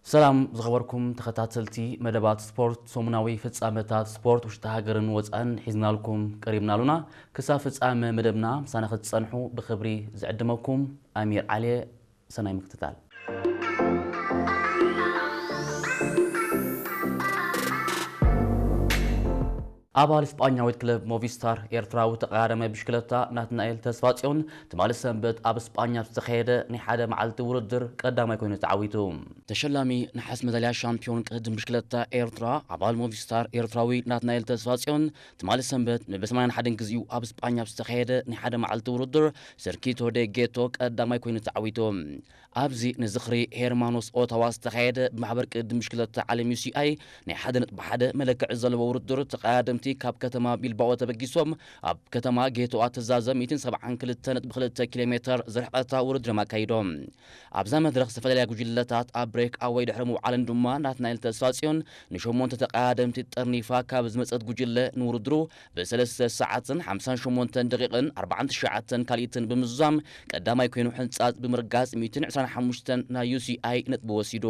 ሰላም ዝኸበርኩም ተኸታተልቲ መደባት ስፖርት፣ ሰሙናዊ ፍጻመታት ስፖርት ውሽጢ ሃገርን ወጻእን ሒዝናልኩም ቀሪብና ኣሉና። ክሳብ ፍጻመ መደብና ምሳና ክትጸንሑ ብኽብሪ ዝዕድመኩም ኣሚር ዓሊ። ሰናይ ምክትታል። ኣባል ስጳኛዊት ክለብ ሞቪስታር ኤርትራዊ ተቐዳዳማይ ብሽክለታ ናትናኤል ተስፋጽዮን ትማሊ ሰንበት ኣብ ስጳኛ ኣብ ዝተኻየደ ናይ ሓደ መዓልቲ ውድድር ቀዳማይ ኮይኑ ተዓዊቱ። ተሸላሚ ነሓስ መዳልያ ሻምፒዮን ቅድድም ብሽክለታ ኤርትራ ኣባል ሞቪስታር ኤርትራዊ ናትናኤል ተስፋጽዮን ትማሊ ሰንበት ንብሰማንያን ሓደን ግዜኡ ኣብ ስጳኛ ኣብ ዝተኻየደ ናይ ሓደ መዓልቲ ውድድር ሰርኪቶ ደ ጌቶ ቀዳማይ ኮይኑ ተዓዊቱ። ኣብዚ ንዝኽሪ ሄርማኖስ ኦታዋ ዝተኻየደ ብማሕበር ቅድድም ብሽክለታ ዓለም ዩ ሲ ኣይ ናይ ሓደ ነጥቢ ሓደ መለክዒ ዘለዎ ውድድር ተቐዳደምቲ ካብ ከተማ ቢልባኦ ተበጊሶም ኣብ ከተማ ጌቶኣ ተዛዘ ሚእትን ሰብዓን ክልተ ነጥቢ ክልተ ኪሎ ሜትር ዝርሕቐታ ውድድር ኣካይዶም። ኣብዛ መድረኽ ዝተፈላለያ ጉጅለታት ኣብ ብሬክ ኣወይ ድሕሪ ምውዓለን ድማ ናትናኤል ተስፋጽዮን ንሸሞንተ ተቐዳደምቲ ጠርኒፋ ካብ ዝመጸት ጉጅለ ንውድድሩ ብሰለስተ ሰዓትን ሓምሳን ሸሞንተን ደቂቕን ኣርባዓን ትሽዓተን ካልኢትን ብምዝዛም ቀዳማይ ኮይኑ ሕንጻጽ ብምርጋጽ ሚእትን ዕስራን ሓሙሽተን ናይ ዩ ሲ ኣይ ነጥቢ ወሲዱ።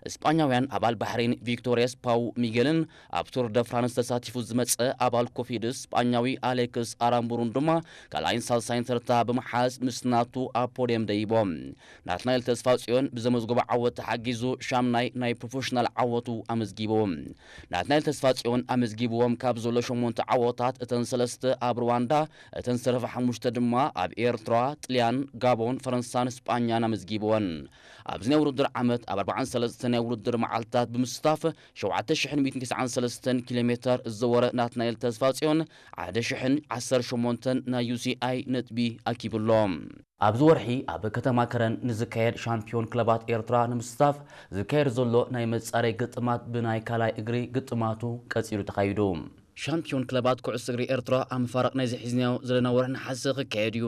እስጳኛውያን ኣባል ባሕሬን ቪክቶርያስ ፓው ሚጌልን ኣብ ቱር ደ ፍራንስ ተሳቲፉ ዝመጸ ኣባል ኮፊድስ እስጳኛዊ ኣሌክስ ኣራምቡሩን ድማ ካልኣይን ሳልሳይን ተርታ ብምሓዝ ምስ ናቱ ኣብ ፖድየም ደይቦም። ናትናኤል ተስፋጽዮን ብዘመዝገቦ ዓወት ተሓጊዙ ሻምናይ ናይ ፕሮፌሽናል ዓወቱ ኣመዝጊቡ። ናትናኤል ተስፋጽዮን ኣመዝጊብዎም ካብ ዘሎ ሸሞንተ ዓወታት እተን ሰለስተ ኣብ ሩዋንዳ፣ እተን ዝተረፋ ሓሙሽተ ድማ ኣብ ኤርትራ፣ ጥልያን፣ ጋቦን፣ ፈረንሳን ስጳኛን ኣመዝጊብወን። ኣብዚ ናይ ውድድር ዓመት ኣብ ኣርባዓን ሰለስተን ናይ ውድድር መዓልትታት ብምስታፍ ሸውዓተ ሽሕን ሚእትን ተስዓን ሰለስተን ኪሎ ሜተር ዝዘወረ ናትናኤል ተስፋጽዮን ሓደ ሽሕን ዓሰርተ ሸሞንተን ናይ ዩ ሲ ኣይ ነጥቢ ኣኪቡ ኣሎ። ኣብዚ ወርሒ ኣብ ከተማ ከረን ንዝካየድ ሻምፒዮን ክለባት ኤርትራ ንምስታፍ ዝካየድ ዘሎ ናይ መጻረይ ግጥማት ብናይ ካልኣይ እግሪ ግጥማቱ ቀጺሉ ተኻይዱ። ሻምፒዮን ክለባት ኩዕሶ እግሪ ኤርትራ ኣብ መፋርቕ ናይዚ ሒዝናዮ ዘለና ወርሒ ነሓሰ ክካየድ እዩ።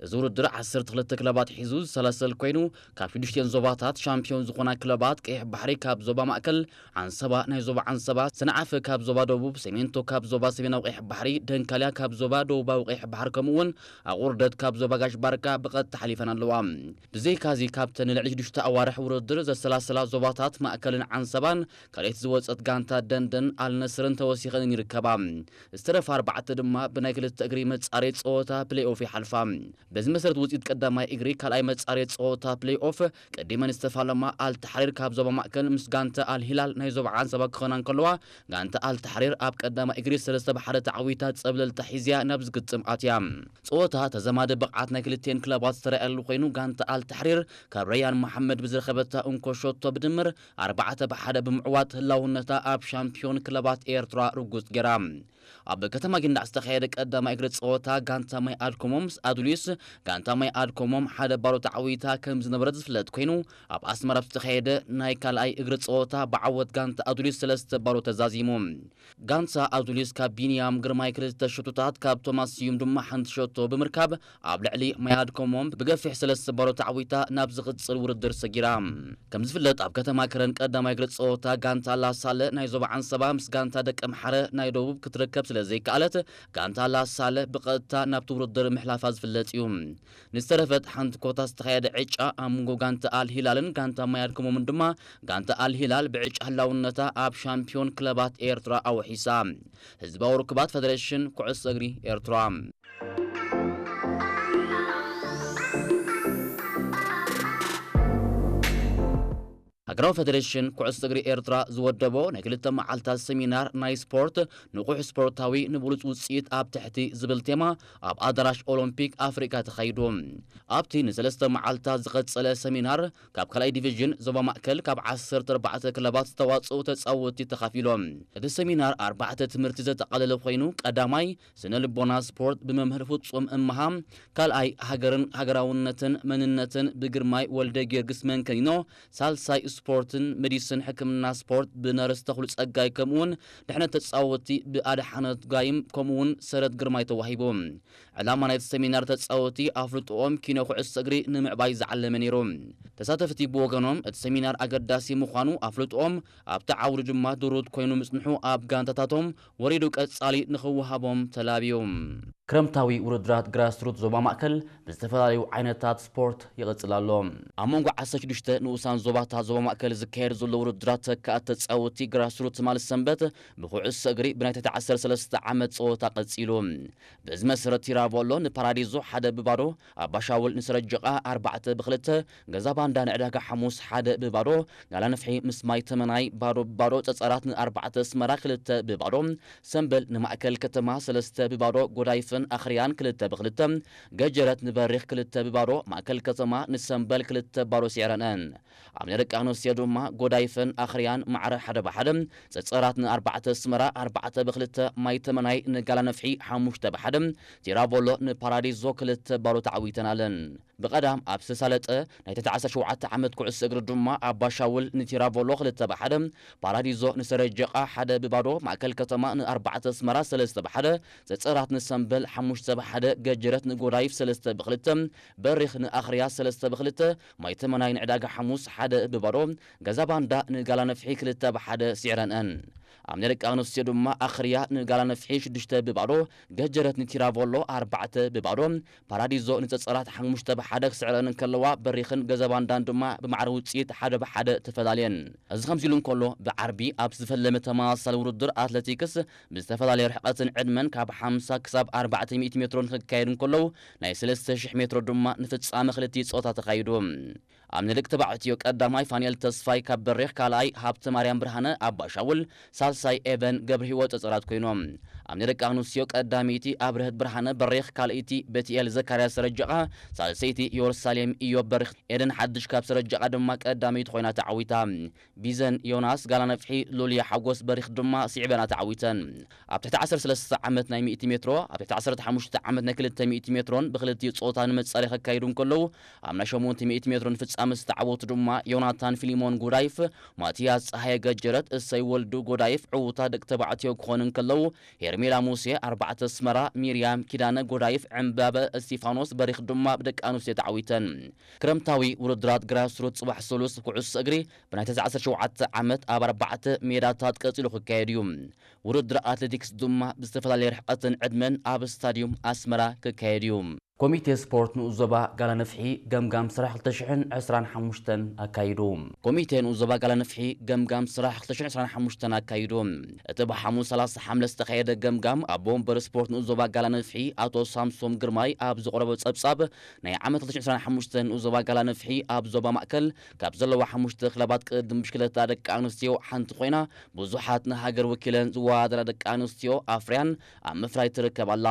እዚ ውድድር ዓሰርተ ክልተ ክለባት ሒዙ ዝሰላሰል ኮይኑ፣ ካብ ሽዱሽቲኤን ዞባታት ሻምፒዮን ዝኾና ክለባት ቀይሕ ባሕሪ ካብ ዞባ ማእከል፣ ዓንሰባ ናይ ዞባ ዓንሰባ፣ ሰንዓፈ ካብ ዞባ ደቡብ፣ ሰሜንቶ ካብ ዞባ ሰሜናዊ ቀይሕ ባሕሪ፣ ደንካልያ ካብ ዞባ ደቡባዊ ቀይሕ ባሕሪ ከምኡ እውን ኣቑርደት ካብ ዞባ ጋሽ ባርካ ብቐጥታ ሓሊፈን ኣለዋ። ብዘይካዚ ካብተን ንልዕሊ ሽዱሽተ ኣዋርሕ ውድድር ዘሰላሰላ ዞባታት ማእከልን ዓንሰባን ካልኣይቲ ዝወጸት ጋንታ ደንደን ኣልነስርን ተወሲኸን ይርከባ። ዝተረፋ ኣርባዕተ ድማ ብናይ ክልተ እግሪ መጻረይ ጸወታ ፕሌይ ኦፍ ይሓልፋ። በዚ መሰረት ውጽኢት ቀዳማይ እግሪ ካልኣይ መጻረይ ጸወታ ፕሌይ ኦፍ ቀዲመን ዝተፋለማ ኣልታሕሪር ካብ ዞባ ማእከል ምስ ጋንታ ኣልሂላል ናይ ዞባ ዓንሰባ ክኾና እንከለዋ፣ ጋንታ ኣልታሕሪር ኣብ ቀዳማይ እግሪ ሰለስተ ብሓደ ተዓዊታ ጸብለልታ ሒዝያ ናብ ዝግጥም ኣትያ። ጸወታ ተዘማዲ ብቕዓት ናይ ክልቲኤን ክለባት ዝተረኣየሉ ኮይኑ፣ ጋንታ ኣልታሕሪር ካብ ረያን መሓመድ ብዝረኸበታ እንኮ ሸቶ ብድምር ኣርባዕተ ብሓደ ብምዕዋት ህላውነታ ኣብ ሻምፒዮን ክለባት ኤርትራ ርጉጽ ገይራ። ኣብ ከተማ ጊንዳዕ ዝተኻየደ ቀዳማይ እግሪ ጸወታ ጋንታ ማይ ኣድኮሞም ምስ ኣዱሊስ፣ ጋንታ ማይ ኣድኮሞም ሓደ ባዶ ተዓዊታ ከም ዝነበረት ዝፍለጥ ኮይኑ፣ ኣብ ኣስመራ ኣብ ዝተኻየደ ናይ ካልኣይ እግሪ ጸወታ ብዓወት ጋንታ ኣዱሊስ ሰለስተ ባዶ ተዛዚሙ። ጋንታ ኣዱሊስ ካብ ቢንያም ግርማይ ክልተ ሸቶታት ካብ ቶማስ ስዩም ድማ ሓንቲ ሸቶ ብምርካብ ኣብ ልዕሊ ማይ ኣድኮሞም ብገፊሕ ሰለስተ ባዶ ተዓዊታ ናብ ዝቕጽል ውድድር ሰጊራ። ከም ዝፍለጥ ኣብ ከተማ ከረን ቀዳማይ እግሪ ጸወታ ጋንታ ላሳለ ናይ ዞባ ዓንሰባ ምስ ጋንታ ደቂ ኣምሓረ ናይ ደቡብ ክትረከብ ስለ ዘይከኣለት ጋንታ ላሳለ ብቐጥታ ናብቲ ውድድር ምሕላፋ ዝፍለጥ እዩ። ንዝተረፈት ሓንቲ ኮታ ዝተኻየደ ዕጫ ኣብ መንጎ ጋንታ ኣል ሂላልን ጋንታ ማይ ኣድኮሞምን ድማ ጋንታ ኣል ሂላል ብዕጫ ህላውነታ ኣብ ሻምፒዮን ክለባት ኤርትራ ኣውሒሳ። ህዝባዊ ርክባት ፈደሬሽን ኩዕሶ እግሪ ኤርትራ። ሃገራዊ ፈደሬሽን ኩዕሶ እግሪ ኤርትራ ዝወደቦ ናይ ክልተ መዓልታት ሰሚናር ናይ ስፖርት ንቑሕ ስፖርታዊ ንብሉጽ ውጽኢት ኣብ ትሕቲ ዝብል ቴማ ኣብ ኣዳራሽ ኦሎምፒክ ኣፍሪቃ ተኻይዱ። ኣብቲ ንሰለስተ መዓልታት ዝቐጸለ ሰሚናር ካብ ካልኣይ ዲቪዥን ዞባ ማእከል ካብ ዓሰርተ ኣርባዕተ ክለባት ዝተዋጽኡ ተጻወትቲ ተኻፊሎም። እቲ ሰሚናር ኣርባዕተ ትምህርቲ ዘጠቓለለ ኮይኑ፣ ቀዳማይ ስነ ልቦና ስፖርት ብመምህር ፍጹም እምሃ፣ ካልኣይ ሃገርን ሃገራውነትን መንነትን ብግርማይ ወልደ ጊዮርጊስ መንከኒኖ፣ ሳልሳይ ስፖርትን መዲስን ሕክምና ስፖርት ብነርስ ተኽሉ ጸጋይ ከምኡውን ድሕነት ተጻወትቲ ብኣድሓነት ጋይም ከምኡውን ሰረት ግርማይ ተዋሂቡ። ዕላማ ናይቲ ሰሚናር ተጻወትቲ ኣፍልጥኦም ኪኖ ኩዕሶ እግሪ ንምዕባይ ዝዓለመ ነይሩ። ተሳተፍቲ ብወገኖም እቲ ሰሚናር ኣገዳሲ ምዃኑ ኣፍልጥኦም ኣብቲ ዓውዲ ድማ ድሩት ኮይኑ ምጽንሑ ኣብ ጋንታታቶም ወሪዱ ቀጻሊ ንኽወሃቦም ተላብዩ። ክረምታዊ ውድድራት ግራስሩት ዞባ ማእከል ብዝተፈላለዩ ዓይነታት ስፖርት ይቕጽል ኣሎ። ኣብ መንጎ ዓሰርተ ሽዱሽተ ንኡሳን ዞባታት ዞባ ማእከል ዝካየድ ዘሎ ውድድራት ተካእቲ ተጻወትቲ ግራስሩት ትማሊ ሰንበት ብኩዕሶ እግሪ ብናይ ትሕቲ ዓሰርተ ሰለስተ ዓመት ጸወታ ቀጺሉ። በዚ መሰረት ቲራቮሎ ንፓራዲዞ ሓደ ብባዶ፣ ኣባሻውል ንሰረጀቓ ኣርባዕተ ብክልተ፣ ገዛ ባንዳ ንዕዳጋ ሓሙስ ሓደ ብባዶ፣ ጋላንፍሒ ምስ ማይ ተመናይ ባዶ ብባዶ፣ ጸጸራት ንኣርባዕተ ኣስመራ ክልተ ብባዶ፣ ሰምበል ንማእከል ከተማ ሰለስተ ብባዶ፣ ጎዳይፍን ኣኽርያን ክልተ ብክልተ፣ ገጀረት ንበሪኽ ክልተ ብባዶ፣ ማእከል ከተማ ንሰምበል ክልተ ባዶ ስዒረንአን። ኣብ ናይ ደቂ ኣንስትዮ ድማ ጎዳይፍን ኣኽርያን ማዕረ ሓደ ብሓደ፣ ጸጸራት ንኣርባዕተ ኣስመራ ኣርባዕተ ብክልተ፣ ማይ ተመናይ ንጋላነፍሒ ሓሙሽተ ብሓደ፣ ቲራቮሎ ንፓራዲዞ ክልተ ባዶ ተዓዊተን ኣለን። ብቐዳም ኣብ ዝተሳለጠ ናይ ትሕቲ ዓሰርተ ሸውዓተ ዓመት ኩዕሶ እግሪ ድማ ኣባሻውል ንቲራቮሎ ክልተ ብሓደ፣ ፓራዲዞ ንሰረጀቓ ሓደ ብባዶ፣ ማእከል ከተማ ንኣርባዕተ ኣስመራ ሰለስተ ብሓደ፣ ጸጸራት ንሰምበል ሓሙሽተ ብሓደ፣ ገጀረት ንጎዳይፍ ሰለስተ ብክልተ፣ በሪኽ ንኣኽርያ ሰለስተ ብክልተ፣ ማይ ተመናይ ንዕዳጋ ሓሙስ ሓደ ብባዶ፣ ገዛ ባንዳ ንጋላነፍሒ ክልተ ብሓደ ስዒረንአን። ኣብ ናይ ደቂ ኣንስትዮ ድማ ኣኽርያ ንጋላነፍሒ ሽዱሽተ ብባዶ፣ ገጀረት ንቲራቮሎ ኣርባዕተ ብባዶ፣ ፓራዲዞ ንጸጸራት ሓሙሽተ ብሓደ ክስዕረን እንከለዋ፣ በሪኽን ገዛ ባንዳን ድማ ብማዕረ ውጽኢት ሓደ ብሓደ ተፈላልየን። እዚ ከምዚ ኢሉ እንከሎ፣ ብዓርቢ ኣብ ዝተፈለመ ተመሳሳሊ ውድድር ኣትሌቲክስ ብዝተፈላለየ ርሕቀትን ዕድመን ካብ ሓምሳ ክሳብ ኣርባዕተ ሚእቲ ሜትሮ ንክካየድ እንከለዉ፣ ናይ ሰለስተ ሽሕ ሜትሮ ድማ ንፍጻመ ክልቲኡ ጾታ ተኻይዱ። ኣብ ናይ ደቂ ተባዕትዮ ቀዳማይ ፋንኤል ተስፋይ ካብ በሪኽ፣ ካልኣይ ሃብተ ማርያም ብርሃነ ኣባሻውል፣ ሳልሳይ ኤቨን ገብረ ህይወት ጸጸራት ኮይኖም። ኣብ ናይ ደቂ ኣንስትዮ ቀዳመይቲ ኣብርህት ብርሃነ በሪኽ፣ ካልኣይቲ ቤትኤል ዘካርያስ ሰረጀቓ፣ ሳልሰይቲ ኢየሩሳሌም ኢዮብ በሪኽ፣ ኤደን ሓድሽ ካብ ሰረጀቓ ድማ ቀዳመይቲ ኮይና ተዓዊታ። ቢዘን ዮናስ ጋላነፍሒ፣ ሉልያ ሓጎስ በሪኽ ድማ ስዒበና ተዓዊተን። ኣብ ትሕቲ ዓሰርተ ሰለስተ ዓመት ናይ ሚእቲ ሜትሮ፣ ኣብ ትሕቲ ዓሰርተ ሓሙሽተ ዓመት ናይ ክልተ ሚእቲ ሜትሮን ብክልቲኡ ጾታ ንመጻረይ ከካይዱ እንከለዉ፣ ኣብ ናይ ሸሞንተ ሚእቲ ሜትሮን ፍጻመ ዝተዓወቱ ድማ ዮናታን ፊሊሞን ጉዳይፍ፣ ማቲያስ ጸሃየ ገጀረት፣ እሰይ ወልዱ ጎዳይፍ ዕዉታት ደቂ ተባዕትዮ ክኾኑ እንከለዉ፣ ሄርሜላ ሙሴ ኣርባዕተ ኣስመራ፣ ሚርያም ኪዳነ ጎዳይፍ፣ ዕምባበ እስቲፋኖስ በሪኽ ድማ ብደቂ ኣንስትዮ ተዓዊተን። ክረምታዊ ውድድራት ግራስሩት ጽባሕ ሰሉስ ኩዕሶ እግሪ ብናይ ተስዓ ዓሰርተ ሸውዓተ ዓመት ኣብ ኣርባዕተ ሜዳታት ቀጺሉ ክካየድ እዩ። ውድድር ኣትሌቲክስ ድማ ብዝተፈላለየ ርሕቀትን ዕድመን ኣብ ስታድዩም ኣስመራ ክካየድ እዩ። ኮሚቴ ስፖርት ንኡስ ዞባ ጋላነፍሒ ገምጋም ስራሕ ክልተ ሽሕን ዕስራን ሓሙሽተን ኣካይዱ። ኮሚቴ ንኡስ ዞባ ጋላነፍሒ ገምጋም ስራሕ ክልተ ሽሕን ዕስራን ሓሙሽተን ኣካይዱ። እቲ ብሓሙስ ሰላሳ ሓምለ ዝተኻየደ ገምጋም ኣቦ ወንበር ስፖርት ንኡስ ዞባ ጋላነፍሒ ኣቶ ሳምሶም ግርማይ ኣብ ዘቕረቦ ጸብጻብ፣ ናይ ዓመት ክልተ ሽሕን ዕስራን ሓሙሽተን ንኡስ ዞባ ጋላነፍሒ ኣብ ዞባ ማእከል ካብ ዘለዋ ሓሙሽተ ክለባት ቅድድም ብሽክለታ ደቂ ኣንስትዮ ሓንቲ ኮይና፣ ብዙሓት ንሃገር ወኪለን ዝወዳደራ ደቂ ኣንስትዮ ኣፍርያን ኣብ ምፍራይ ትርከብ ኣላ።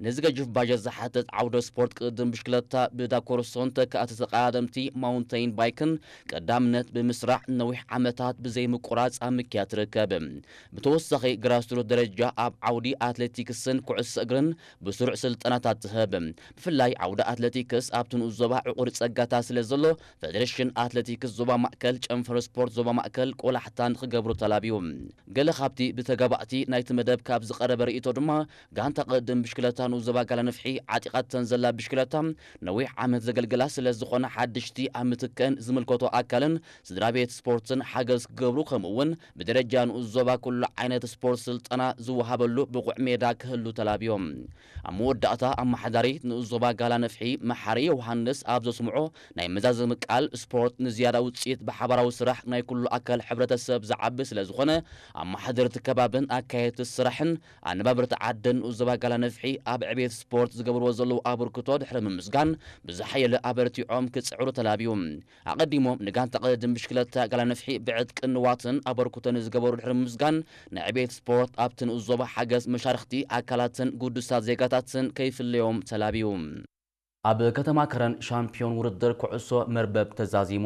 ነዚ ገጅፍ ባጀት ዝሓትት ዓውደ ስፖርት ቅድድም ብሽክለታ ብዳኮርሶን ተካእቲ ተቐዳደምቲ ማውንተይን ባይክን ቀዳምነት ብምስራዕ ነዊሕ ዓመታት ብዘይምቁራጽ ኣብ ምክያድ ትርከብ። ብተወሳኺ ግራስሩት ደረጃ ኣብ ዓውዲ ኣትሌቲክስን ኩዕሶ እግርን ብስሩዕ ስልጠናታት ትህብ። ብፍላይ ዓውዲ ኣትሌቲክስ ኣብቲ ንኡስ ዞባ ዕቑር ጸጋታት ስለ ዘሎ፣ ፈደሬሽን ኣትሌቲክስ ዞባ ማእከል፣ ጨንፈር ስፖርት ዞባ ማእከል ቆላሕታ ንኽገብሩ ተላብዩ። ገለ ካብቲ ብተጋባእቲ ናይቲ መደብ ካብ ዝቐረበ ርእይቶ ድማ፣ ጋንታ ቅድድም ብሽክለታ ንኡስ ዞባ ጋላነፍሒ ዓጢቓተን ዘላ ብሽክለታ ነዊሕ ዓመት ዘገልግላ ስለ ዝኾና፣ ሓድሽቲ ኣብ ምትከን ዝምልከቶ ኣካልን ስድራ ቤት ስፖርትን ሓገዝ ክገብሩ፣ ከምኡ እውን ብደረጃ ንኡስ ዞባ ኩሉ ዓይነት ስፖርት ስልጠና ዝወሃበሉ ብቑዕ ሜዳ ክህሉ ተላብዮም። ኣብ መወዳእታ ኣመሓዳሪ ንኡስ ዞባ ጋላነፍሒ መሓሪ ዮሃንስ ኣብ ዘስምዖ ናይ መዛዘሚ ቃል፣ ስፖርት ንዝያዳ ውጽኢት ብሓባራዊ ስራሕ ናይ ኩሉ ኣካል ሕብረተሰብ ዝዓቢ ስለ ዝኾነ፣ ኣመሓደርቲ ከባብን ኣካየድቲ ስራሕን ኣነባበርቲ ዓድን ንኡስ ዞባ ጋላነፍሒ ኣብ ዕቤት ስፖርት ዝገብርዎ ዘለዉ ኣበርክቶ ድሕሪ ምምስጋን፣ ብዝሓየለ ኣበርቲዖም ክጽዕሩ ተላብዩ። ኣቐዲሞም ንጋንታ ቅድድም ብሽክለታ ጋላነፍሒ ብዕጥቅን ንዋትን ኣበርክቶ ንዝገበሩ ድሕሪ ምምስጋን፣ ንዕቤት ስፖርት ኣብቲ ንኡስ ዞባ ሓገዝ መሻርኽቲ ኣካላትን ግዱሳት ዜጋታትን ከይፍለዮም ተላብዩ። ኣብ ከተማ ከረን ሻምፒዮን ውድድር ኩዕሶ መርበብ ተዛዚሙ።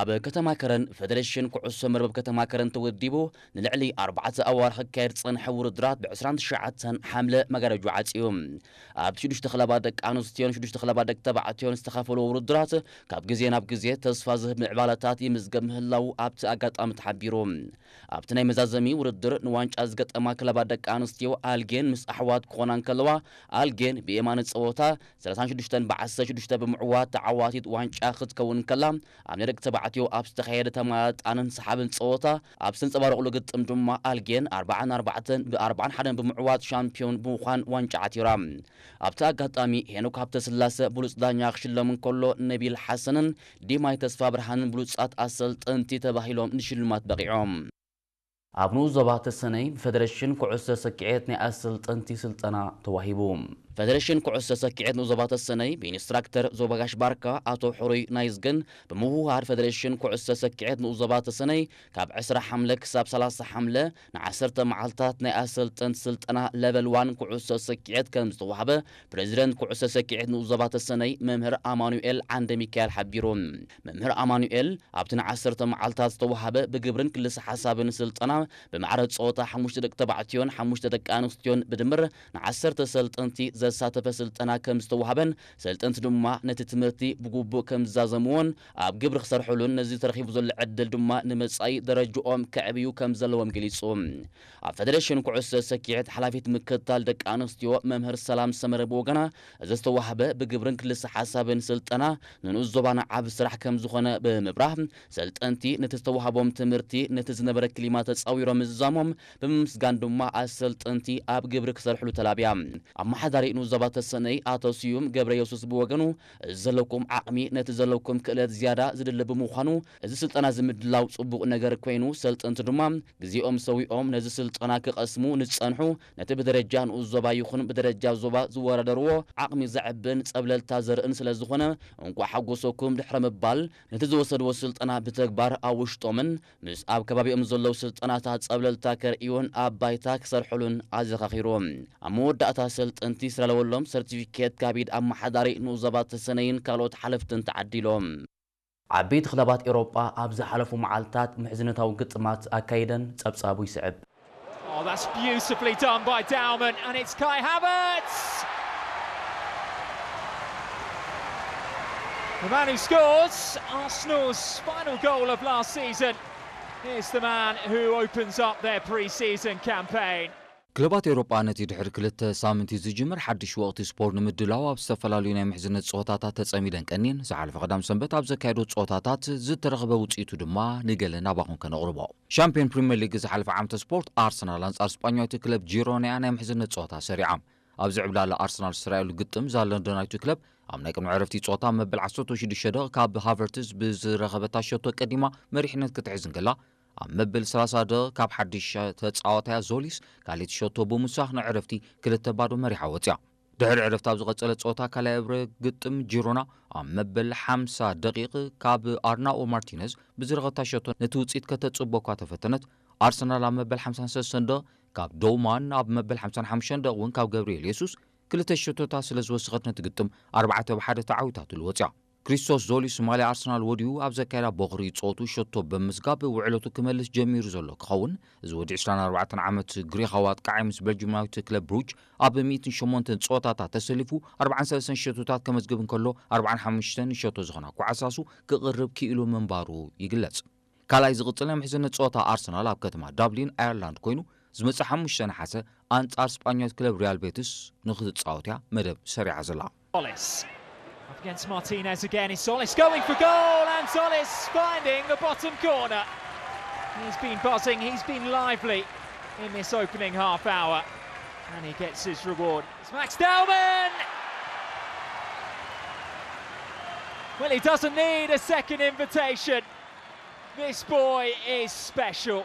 ኣብ ከተማ ከረን ፈደሬሽን ኩዕሶ መርበብ ከተማ ከረን ተወዲቡ ንልዕሊ ኣርባዕተ ኣዋርሕ ክካየድ ዝጸንሐ ውድድራት ብ ዕስራን ትሽዓተን ሓምለ መጋረጃ ዓጽዩ። ኣብቲ ሽዱሽተ ክለባት ደቂ ኣንስትዮን ሽዱሽተ ክለባት ደቂ ተባዕትዮን ዝተኻፈሉ ውድድራት ካብ ግዜ ናብ ግዜ ተስፋ ዝህብ ምዕባለታት ይምዝገብ ምህላዉ ኣብቲ ኣጋጣሚ ተሓቢሩ። ኣብቲ ናይ መዛዘሚ ውድድር ንዋንጫ ዝገጠማ ክለባት ደቂ ኣንስትዮ ኣልጌን ምስ ኣሕዋት ክኾና እንከለዋ፣ ኣልጌን ብየማነ ጸወታ ሰላሳን ሽዱሽተን ብዓሰርተ ሽዱሽተ ብምዕዋት ተዓዋቲት ዋንጫ ክትከውን እንከላ፣ ኣብ ናይ ደቂ ዓትዮ ኣብ ዝተኻየደ ተመጣጣንን ሰሓብን ጸወታ ኣብ ዝተንጸባረቑሉ ግጥም ድማ ኣልጌን ኣርብዓ ን ኣርባዕተ ብ ኣርብዓ ን ሓደ ብምዕዋት ሻምፒዮን ብምዃን ዋንጫ ዓቲራ። ኣብቲ ኣጋጣሚ ሄኖክ ሃብተስላሰ ብሉጽ ዳኛ ክሽለም እንከሎ፣ ነቢል ሓሰንን ዲማይ ተስፋ ብርሃንን ብሉጻት ኣሰልጠንቲ ተባሂሎም ንሽልማት በቒዖም። ኣብ ንኡስ ዞባ ተሰነይ ብፈደረሽን ኩዕሶ ሰኪዔት ናይ ኣሰልጠንቲ ስልጠና ተዋሂቡ። ፈደረሽን ኩዕሶ ሰኪዔት ንኡስ ዞባ ተሰነይ ብኢንስትራክተር ዞባጋሽ ባርካ ኣቶ ሕሩይ ናይዝገን ብምውህሃድ፣ ፈደረሽን ኩዕሶ ሰኪዔት ንኡስ ዞባ ተሰነይ ካብ ዕስራ ሓምለ ክሳብ ሰላሳ ሓምለ ንዓሰርተ መዓልታት ናይ ኣሰልጠንቲ ስልጠና ለቨል ዋን ኩዕሶ ሰኪዔት ከም ዝተዋህበ ፕሬዚደንት ኩዕሶ ሰኪዔት ንኡስ ዞባ ተሰነይ መምህር ኣማኑኤል ዓንደ ሚካኤል ሓቢሩ። መምህር ኣማኑኤል ኣብቲ ንዓሰርተ መዓልታት ዝተዋህበ ብግብርን ክልሰ ሓሳብን ስልጠና ብማዕረ ጸወታ ሓሙሽተ ደቂ ተባዕትዮን ሓሙሽተ ደቂ ኣንስትዮን ብድምር ንዓሰርተ ሰልጠንቲ ዘሳተፈ ስልጠና ከም ዝተዋህበን፣ ሰልጠንቲ ድማ ነቲ ትምህርቲ ብግቡእ ከም ዝዛዘምዎን ኣብ ግብሪ ክሰርሕሉን ነዚ ተረኺቡ ዘሎ ዕድል ድማ ንመጻኢ ደረጅኦም ከዕብዩ ከም ዘለዎም ገሊጹ። ኣብ ፈደረሽን ኩዕሶ ሰኪዔት ሓላፊት ምክትታል ደቂ ኣንስትዮ መምህር ሰላም ሰመረ ብወገና፣ እዚ ዝተዋህበ ብግብርን ክልሰ ሓሳብን ስልጠና ንንኡስ ዞባና ዓቢ ስራሕ ከም ዝኾነ ብምብራህ፣ ሰልጠንቲ ነቲ ዝተዋህቦም ትምህርቲ ነቲ ዝነበረ ክሊማ ተጻዊሮም ምዝዛሞም ብምምስጋን ድማ ኣሰልጠንቲ ኣብ ግብሪ ክሰርሕሉ ተላብያ። ኣመሓዳሪ ንኡስ ዞባ ተሰነይ ኣቶ ስዩም ገብረ የሱስ ብወገኑ፣ እዚ ዘለኩም ዓቕሚ ነቲ ዘለኩም ክእለት ዝያዳ ዝድሊ ብምዃኑ፣ እዚ ስልጠና እዚ ምድላው ጽቡቕ ነገር ኮይኑ፣ ሰልጠንቲ ድማ ግዜኦም ሰዊኦም ነዚ ስልጠና ክቐስሙ ንዝጸንሑ፣ ነቲ ብደረጃ ንኡስ ዞባ ይኹን ብደረጃ ዞባ ዝወዳደርዎ ዓቕሚ ዘዕብን ጸብለልታ ዘርእን ስለ ዝኾነ፣ እንቋዕ ሓጎሰኩም ድሕሪ ምባል፣ ነቲ ዝወሰድዎ ስልጠና ብተግባር ኣብ ውሽጦምን ምስ ኣብ ከባቢኦም ዘለዉ ስልጠናታት ጸብለልታ ከርእዩን ኣብ ባይታ ክሰርሕሉን ኣዘኻኺሩ። ኣብ መወዳእታ፣ ሰልጠንቲ ዝተዳለወሎም ሰርቲፊኬት ካብ ኢድ ኣመሓዳሪ ንኡስ ዞባ ተሰነይን ካልኦት ሓለፍትን ተዓዲሎም። ዓበይቲ ክለባት ኤውሮጳ ኣብ ዝሓለፉ መዓልታት ምሕዝነታዊ ግጥማት ኣካይደን። ጸብጻቡ ይስዕብ። Oh, that's beautifully done by Dalman, and it's Kai Havertz! The man who scores Arsenal's final goal of last season is the man who opens up their pre season campaign. ክለባት ኤውሮጳ ነቲ ድሕሪ ክልተ ሳምንቲ ዝጅምር ሓድሽ ወቕቲ ስፖርት ንምድላው ኣብ ዝተፈላለዩ ናይ ምሕዝነት ጸወታታት ተጸሚደን ቀንየን። ዝሓለፈ ቀዳም ሰንበት ኣብ ዘካየዶ ጸወታታት ዝተረኽበ ውጽኢቱ ድማ ንገለ ናባኹም ከነቕርቦ። ሻምፒዮን ፕሪምየር ሊግ ዝሓለፈ ዓመተ ስፖርት ኣርሰናል ኣንጻር ስጳኛዊት ክለብ ጂሮና እያ ናይ ምሕዝነት ጸወታ ሰሪዓ። ኣብዚ ዕብላላ ኣርሰናል ዝተራእየሉ ግጥም እዛ ለንደናዊት ክለብ ኣብ ናይ ቅድሚ ዕረፍቲ ጸወታ መበል ዓሰርተ ሽዱሽተ ደቂቕ ካብ ሃቨርትዝ ብዝረኸበታ ሸቶ ቀዲማ መሪሕነት ክትሕዝ እንከላ፣ ኣብ መበል ሰላሳ ደቂቕ ካብ ሓድሽ ተጻዋታያ ዞሊስ ካልኣይቲ ሸቶ ብምውሳኽ ንዕረፍቲ ክልተ ባዶ መሪሓ ወጽያ። ድሕሪ ዕረፍቲ ኣብ ዝቐጸለ ጸወታ ካልኣይ እብረ ግጥም ጂሮና ኣብ መበል ሓምሳ ደቂቕ ካብ ኣርናኦ ማርቲነዝ ብዝረኸብታ ሸቶ ነቲ ውጽኢት ከተጽቦ እኳ ተፈተነት፣ ኣርሰናል ኣብ መበል ሓምሳን ሰለስተን ደቂቕ ካብ ዶውማን ኣብ መበል ሓምሳን ሓሙሽተን ደቂቕ እውን ካብ ገብርኤል የሱስ ክልተ ሸቶታት ስለ ዝወሰኸት ነቲ ግጥም ኣርባዕተ ብ ሓደ ተዓዊታትሉ ወጽያ። ክሪስቶስ ዞሊስ ማልያ ኣርሰናል ወዲኡ ኣብ ዘካየዳ ቦኽሪ ጸወቱ ሸቶ ብምስጋብ ውዕለቱ ክመልስ ጀሚሩ ዘሎ ክኸውን፣ እዚ ወዲ ዕስራን ኣርባዕተን ዓመት ግሪኻዊ ኣጥቃዓይ ምስ ቤልጅማዊት ክለብ ብሩጅ ኣብ ሚእትን ሸሞንተን ጸወታታት ተሰሊፉ ኣርባዓን ሰለስተን ሸቶታት ከመዝግብ እንከሎ ኣርባዓን ሓሙሽተን ሸቶ ዝኾና ኳዕሳሱ ክቕርብ ክኢሉ ምንባሩ ይግለጽ። ካልኣይ ዝቕጽል ናይ ምሕዝነት ጸወታ ኣርሰናል ኣብ ከተማ ዳብሊን ኣየርላንድ ኮይኑ ዝመጽእ ሓሙሽተ ነሓሰ ኣንጻር ስጳኛዊት ክለብ ሪያል ቤትስ ንኽትጻወት እያ መደብ ሰሪዓ ዘላ። Solis. Up against Martinez again. Is Solis going for goal? And Solis finding the bottom corner. He's been buzzing, he's been lively in this opening half hour. And he gets his reward. It's Max Dalman! Well, he doesn't need a second invitation. This boy is special.